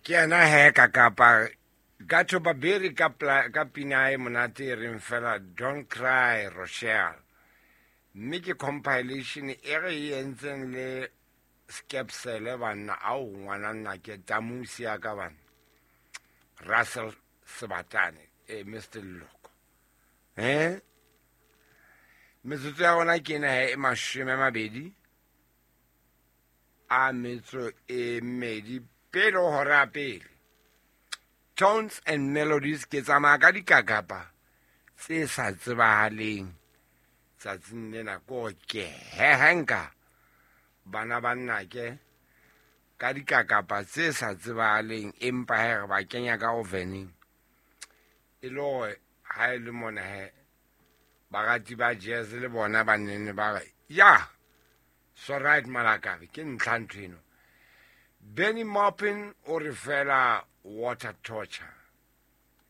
Ke yena he ka kapa Gato Baberi ka, ka pina e monate e reng fela Don't Cry Rochelle. Mme ke compilation e re e entseng le Skepsele banna ao ngwana nna ke tamusi ya ka banna. Russell Sebatane e Mr. Loko. Eh? Metsotso ya rona ke ena he e 20 a metso e mmedi pele ho hora ya pele. Tones and Melodies ke tsamaya ka dikakapa tse sa tsebahaleng tsatsing lena ko ke hehenka bana ba nnake ka dikakapa tse sa tsebahaleng empa he re ba kenya ka oveneng e le hore ha e le mona he barati ba jazz le bona ba nene ba re ya so right malakabe ke ntlha ntho eno. Benny Maupin o re fela Water Torture.